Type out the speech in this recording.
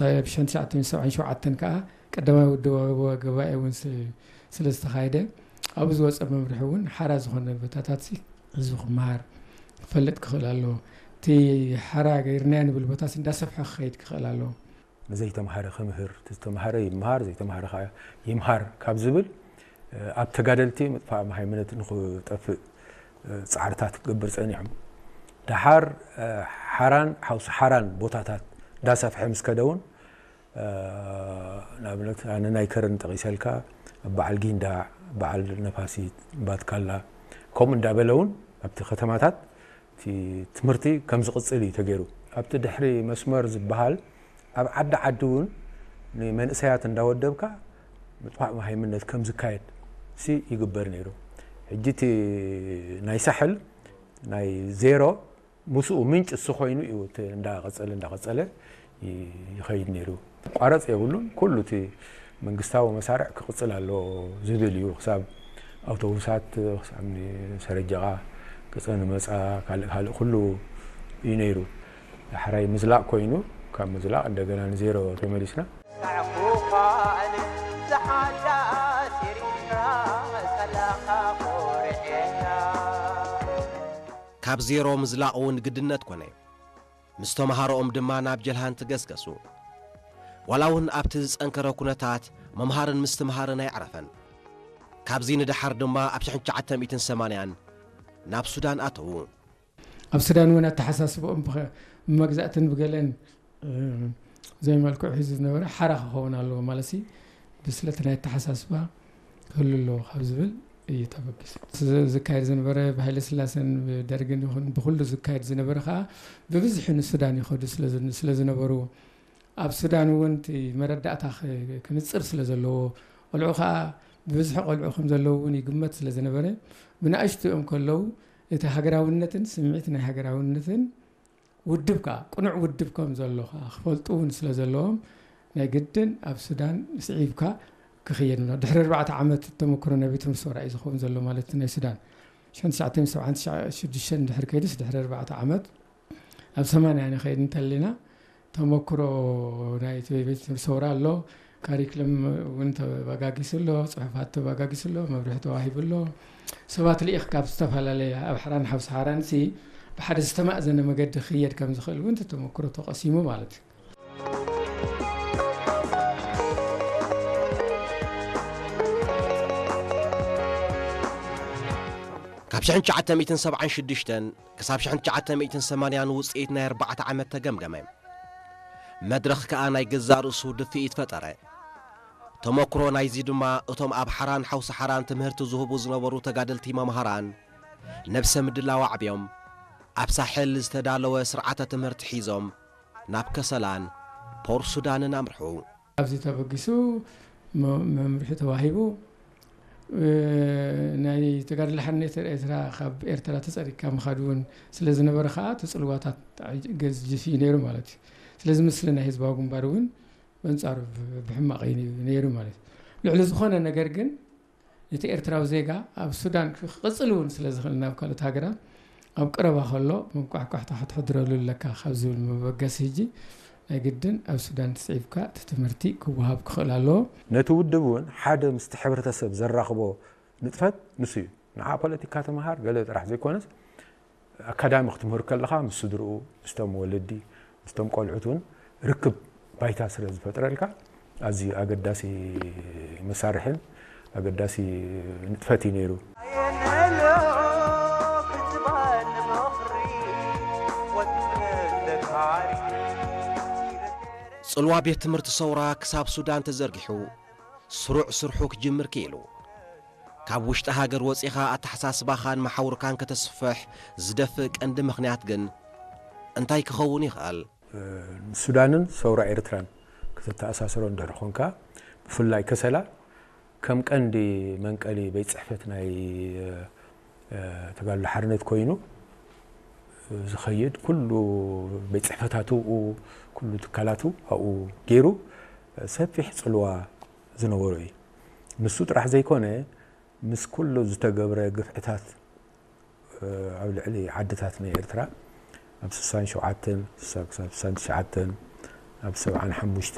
ብ ትሽዓተ ሚእቲ ሰብዓን ሸውዓተን ከዓ ቀዳማይ ውድባዊ ጉባኤ እውን ስ- ስለ ዝተኻየደ፣ ኣብኡ ዝወፀ መምርሒ እውን ሓራ ዝኾነ ቦታታት ሲ ህዝቢ ክመሃር ክፈልጥ ክኽእል ኣለዎ። እቲ ሓራ ገይርናዮ ንብል ቦታስ እንዳሰፍሐ ክኸይድ ክኽእል ኣለዎ። ንዘይተምሃረ ክምህር፣ እቲ ዝተምሃረ ይምሃር፣ ዘይተምሃረ ከዓ ይምሃር ካብ ዝብል፣ ኣብ ተጋደልቲ ምጥፋእ መሃይምነት ንክጠፍእ ፃዕርታት ክገብር ፀኒዖም። ደሓር ሓራን ሓውሲ ሓራን ቦታታት እንዳሰፍሐ ምስ ከደ እውን፣ ንኣብነት ኣነ ናይ ከረን ጠቒሰልካ፣ በዓል ጊንዳዕ፣ በዓል ነፋሲት፣ ባትካላ፣ ከምኡ እንዳበለ እውን ኣብቲ ከተማታት እቲ ትምህርቲ ከም ዝቕፅል እዩ ተገይሩ። ኣብቲ ድሕሪ መስመር ዝበሃል ኣብ ዓዲ ዓዲ እውን ንመንእሰያት እንዳወደብካ ምጥፋእ መሃይምነት ከም ዝካየድ ሲ ይግበር ነይሩ። ሕጂ እቲ ናይ ሳሕል ናይ ዜሮ ምስኡ ምንጭ እሱ ኮይኑ እዩ እቲ እንዳቐፀለ እንዳቐፀለ ይ- ይኸይድ ነይሩ። ቋረፅ የብሉን። ኩሉ እቲ መንግስታዊ መሳርዕ ክቕፅል ኣለዎ ዝብል እዩ። ክሳብ ኣውቶቡሳት ክሳብ ሰረጀቓ ገፀ ንመፃ ካልእ ካልእ ኩሉ እዩ ነይሩ። ዳሕራይ ምዝላቕ ኮይኑ ካብ ምዝላቕ እንደገና ንዜሮ ተመሊስና። ካብ ዜሮ ምዝላቕ እውን ግድነት ኮነ። ምስ ተምሃሮኦም ድማ ናብ ጀልሃንቲ ገስገሱ። ዋላ እውን ኣብቲ ዝጸንከረ ኩነታት ምምሃርን ምስትምሃርን ኣይዕረፈን። ካብዚ ንደሓር ድማ ኣብ ሽሕን ትሽዓተ ሚእትን ሰማንያን ናብ ሱዳን ኣተዉ። ኣብ ሱዳን እውን ኣተሓሳስብኦም ብኸ- ብመግዛእትን ብገለን እ፣ ዘይመልክዑ ሒዙ ዝነበረ ሓራ ክኸውን ኣለዎ ማለት ሲ ብስለት ናይ ኣተሓሳስባ ክህሉ ኣለዎ ካብ ዝብል እዩ ተበጊሱ። ዝ- ዝካየድ ዝነበረ ብሃይለ ስላሰን ብደርግን ይኹን ብኩሉ ዝካየድ ዝነበረ ከዓ ብብዝሒ ንሱዳን ይኸዱ ስለ ዝ- ስለ ዝነበሩ ኣብ ሱዳን እውን እቲ መረዳእታ ክ- ክንፅር ስለ ዘለዎ ቆልዑ ከዓ ብብዝሒ ቆልዑ ከም ዘለዉ እውን ይግመት ስለ ዝነበረ ብንኣሽትኦም ከለዉ እቲ ሃገራውነትን ስምዒት ናይ ሃገራውነትን ውድብ ከዓ ቅኑዕ ውድብ ከም ዘሎ ከዓ ክፈልጡ እውን ስለ ዘለዎም ናይ ግድን ኣብ ሱዳን ስዒብካ ክኽየድ ነ ድሕሪ ኣርባዕተ ዓመት ተመክሮ ናይ ቤት ትምህርቲ ሰውራ እዩ ዝኸውን ዘሎ ማለት ናይ ሱዳን ሽሕን ትሽዓተ ሚእትን ሰብዓን ሽዱሽተን ድሕሪ ከይድስ ድሕሪ ኣርባዕተ ዓመት ኣብ ሰማንያ ንኸይድ እንተለና ተመክሮ ናይ እቲ ቤት ትምህርቲ ሰውራ ኣሎ። ካሪክለም እውን ተባጋጊሱ ኣሎ፣ ፅሑፋት ተባጋጊሱ ኣሎ፣ መብርሒ ተዋሂቡ ኣሎ። ሰባት ልኢኽ ካብ ዝተፈላለየ ኣብ ሓራን ሓውሲ ሓራን ሲ ብሓደ ዝተማእዘነ መገዲ ክየድ ከም ዝኽእል እውን ተመክሮ ተቐሲሙ ማለት እዩ። ካብ ሽሕን ትሽዓተ ሚእትን ሰብዓን ሽዱሽተን ክሳብ ሽሕን ትሽዓተ ሚእትን ሰማንያን ውፅኢት ናይ ኣርባዕተ ዓመት ተገምገመ። መድረኽ ከኣ ናይ ገዛእ ርእሱ ድፍኢት ፈጠረ። ተመክሮ ናይዚ ድማ እቶም ኣብ ሓራን ሓውሲ ሓራን ትምህርቲ ዝህቡ ዝነበሩ ተጋደልቲ መምሃራን ነብሰ ምድላው ኣዕብዮም ኣብ ሳሕል ዝተዳለወ ስርዓተ ትምህርቲ ሒዞም ናብ ከሰላን ፖር ሱዳንን ኣምርሑ። ኣብዚ ተበጊሱ መ- መምርሒ ተዋሂቡ እ፣ ናይ ተጋድሎ ሓርነት ኤርትራ ካብ ኤርትራ ተፀሪግካ ምኻድ እውን ስለ ዝነበረ ከዓ እቲ ፅልዋታት ገዝፍ እዩ ነይሩ ማለት እዩ። ስለዚ ምስሊ ናይ ህዝባዊ ግንባር እውን በንጻሩ ብ- ብሕማቕ እዩ ነይሩ ማለት እዩ። ልዕሊ ዝኾነ ነገር ግን እቲ ኤርትራዊ ዜጋ ኣብ ሱዳን ክቕፅል እውን ስለ ዝኽእል ናብ ካልኦት ሃገራት ኣብ ቀረባ ከሎ መቋሕቋሕታ ክትሕድረሉ ኣለካ ካብ ዝብል መበገሲ ሕጂ ናይ ግድን ኣብ ሱዳን ተስዒብካ እቲ ትምህርቲ ክወሃብ ክኽእል ኣለዎ። ነቲ ውድብ እውን ሓደ ምስቲ ሕብረተሰብ ዘራኽቦ ንጥፈት ንሱ እዩ። ንዓ ፖለቲካ ተምሃር ገለ ጥራሕ ዘይኮነስ ኣካዳሚ ክትምህር ከለኻ ምስ ስድርኡ፣ ምስቶም ወለዲ፣ ምስቶም ቆልዑት እውን ርክብ ባይታ ስለ ዝፈጥረልካ ኣዝዩ ኣገዳሲ መሳርሕን ኣገዳሲ ንጥፈት እዩ ነይሩ። ጽልዋ ቤት ትምህርቲ ሰውራ ክሳብ ሱዳን ተዘርጊሑ ስሩዕ ስርሑ ክጅምር ክኢሉ። ካብ ውሽጢ ሃገር ወጺኻ ኣተሓሳስባኻን መሓውርካን ከተስፍሕ ዝደፍእ ቀንዲ ምኽንያት ግን እንታይ ክኸውን ይኽእል? ሱዳንን ሰውራ ኤርትራን ክትተኣሳስሮ እንድሕር ኾንካ ብፍላይ ከሰላ ከም ቀንዲ መንቀሊ ቤት ጽሕፈት ናይ ተጋድሎ ሓርነት ኮይኑ ዝኸይድ ኩሉ ቤት ጽሕፈታቱ ኩሉ ትካላቱ ኣብኡ ገይሩ ሰፊሕ ጽልዋ ዝነበሮ እዩ። ንሱ ጥራሕ ዘይኮነ ምስ ኩሉ ዝተገብረ ግፍዕታት ኣብ ልዕሊ ዓድታት ናይ ኤርትራ ኣብ ስሳን ሸውዓተን ክሳብ ስሳን ትሽዓተን ኣብ ሰብዓን ሓሙሽተ